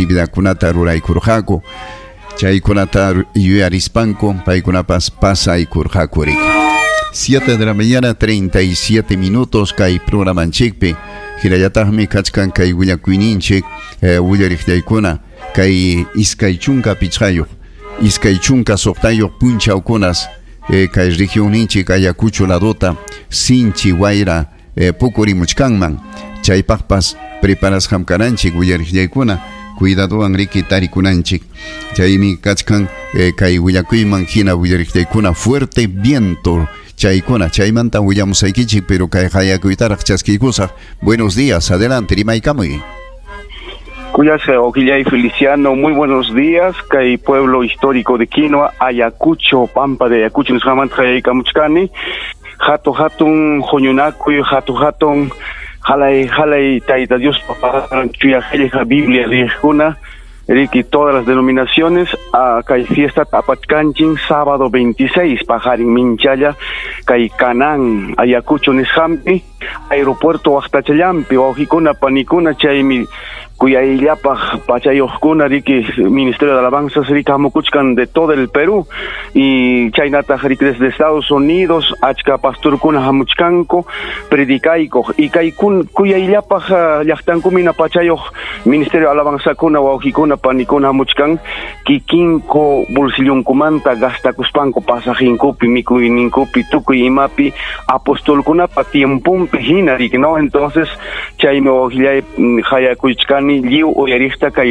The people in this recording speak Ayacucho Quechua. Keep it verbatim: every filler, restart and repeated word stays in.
Actividadkunata ruraykurqaku, chaykunata yuyarispanku paykunapas pasaykurqaku riki. siete de la mañana, treinta y siete minutos kay programanchikpi. Hinallataqmi kachkan kay willakuyninchik, eh, willariqllaykuna, kay iskay chunka pichqayuq, iskay chunka suqtayuq punchawkunas eh, kay regionninchik Ayacucho ladota sinchi wayra eh, pukurimuchkanman. Chaypaqpas preparasqam kananchik, willariqllaykuna, cuidadowan riki tarikunanchik. Chaymi kachkan eh, kay willakuyman hina, willariqllaykuna, fuerte viento chaykuna, chaymanta willamusaykichik, pero kay qayakuytaraq chaskiykusaq. Buenos días, adelante, rimaykamuy. Kuyasqa wawqillay Feliciano, muy buenos días. Kay pueblo histórico de Quinoa, Ayacucho, Pampa de Ayacucho, nisqamanta qayaykamuchkani. Hatu hatun huñunakuy, hatu hatun halay halay Tayta Dios chuya qillqa Biblia riqkuna, riki, todas las denominaciones, kay fiesta apachkanchin sábado veintiséis, paqarin minchalla, kay Canán, Ayacucho nisqampi, aeropuerto waqtachallampi, wawqikuna, panikuna, chaymi kuyayllapaq pachayuqkuna riki Ministerio de Alabanzas riki hamukuchkan de todo el Perú y chaynataq riki desde Estados Unidos achka pastorkuna hamuchkanku predicaykuq y kay kuyayllapaq llaqtankumina pachayuq Ministerio de Alabanzakuna, wawqikuna, panikuna hamuchkan kikinku bolsillunkumanta gastakuspanku pasajinkupi, mikuyninkupi, tukuy imapi, apostolkunapa tiempumpi hina riki, ¿no? Entonces chaymi, wawqillay, qayakuychkani lliw uyariqta kay.